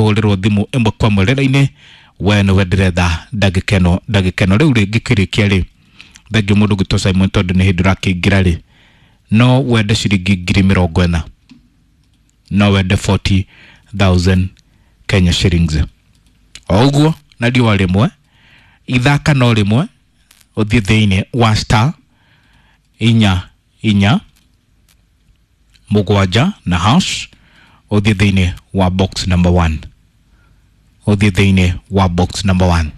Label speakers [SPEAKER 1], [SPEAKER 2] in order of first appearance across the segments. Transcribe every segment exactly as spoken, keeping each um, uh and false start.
[SPEAKER 1] Kũhũrĩrwo thimũ ĩmwe kwa ĩmwe rĩra-inĩ. We nĩwe ndĩretha ndagĩka ĩno, ndagĩka ĩno rĩu rĩngĩ kĩrĩkia rĩ. Thengiũ mũndũ gwĩtwo Simon, tondũ nĩ hĩndĩ ũrakĩingĩra rĩ, no wende ciringi ngiri mĩrongo ĩna, no wende forty thousand Kenya shillings o ũguo na riũa rĩmwe ithaka no rĩmwe. Ũthiĩ thĩinĩ wa star inya inya mũgwanja na hash, ũthiĩ thĩinĩ wa box number one, ũthiĩ thĩinĩ wa box number one.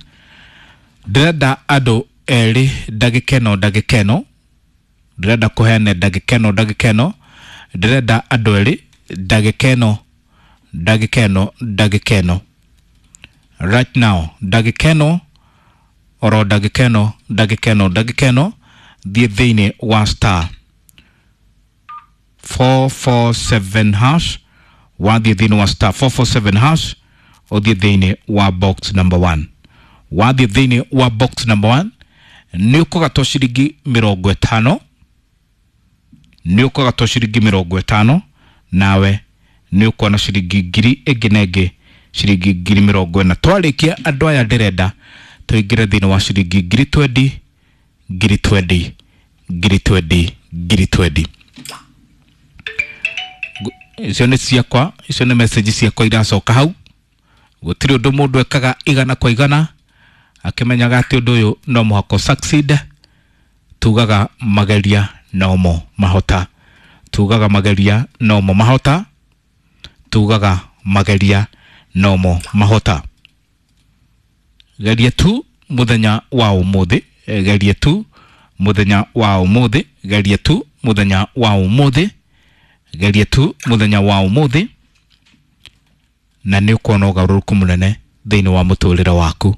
[SPEAKER 1] Ndĩrenda andũ erĩ ndagĩka ĩno, ndagĩka ĩno ndĩrenda kũheana, ndagĩka ĩno, ndagĩka ĩno ndĩrenda andũ erĩ, ndagĩka ĩno, ndagĩka ĩno, ndagĩka ĩno, right now, ndagĩka ĩno, oro ndagĩka ĩno, ndagĩka ĩno, ndagĩka ĩno. Thiĩ thĩinĩ wa star four four seven hash. Wathiĩ thĩinĩ wa star four four seven hash, ũthiĩ thĩinĩ wa box number one. Wathiĩ thĩinĩ wa box number one, nĩ ũkũgatwo ciringi mĩrongo ĩtano, nĩ ũkũgatwo ciringi mĩrongo ĩtano, nawe nĩ ũkuona ciringi ngiri ĩngĩ na ĩngĩ, ciringi ngiri mĩrongo ĩna. Twarĩkia andũ aya, ndĩrenda tũingĩre thĩinĩ wa ciringi ngiri twenty, ngiri twenty, ngiri twenty, ngiri twenty. Icio nĩ ciakwa, icio nĩ message ciakwa iracoka hau. Gũtirĩ ũndũ mũndũ ekaga igana kwa igana akĩmenyaga atĩ ũndũ ũyũ no mũhaka succeed. Tugaga mageria nomo mahota, tugaga mageria nomo mahota, tugaga mageria nomo mahota. Geria tu muthenya wa umuthi, geria tu muthenya wa umuthi, geria tu muthenya wa umuthi, geria tu muthenya wa umuthi, na nĩ ũkuona ũgarũrũku mũnene thĩinĩ wa mũtũrĩre waku.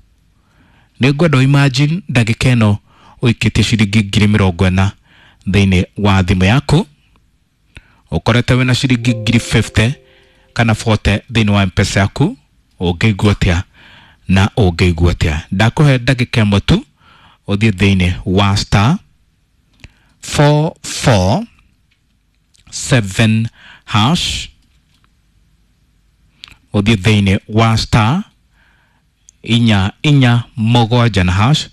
[SPEAKER 1] Nĩ ngwenda imagine ndagĩka ĩno ũikĩtie ciringi ngiri mĩrongo ĩna thĩinĩ wa thimũ yaku, ũkorete wĩna ciringi ngiri fifty kana forty thĩinĩ wa Mpesa yaku. Ũngĩigua atĩa? Na ũngĩigua atĩa? Ndakũhe ndagĩka ĩmwe tu ũthiĩ thĩinĩ wa star four four seven hash, ũthiĩ thĩinĩ wa star inya inya mũgwanja na hash.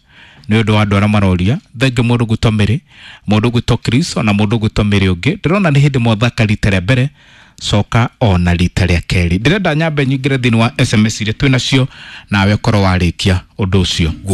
[SPEAKER 1] Nĩ ũndũ wa andũ arĩa maroria, thengiũ mũndũ gwĩtwo Mĩrĩ, mũndũ gwĩtwo Chris, ona mũndũ gwĩtwo Mĩrĩ ũngĩ, ndĩrona nĩ hĩndĩ mwathaka rita rĩa mbere, coka ona rita rĩa kerĩ. Ndĩrenda nyambe nyingĩre thĩinĩ wa S M S iria twĩ nacio, nawe ũkorwo warĩkia ũndũ ũcio.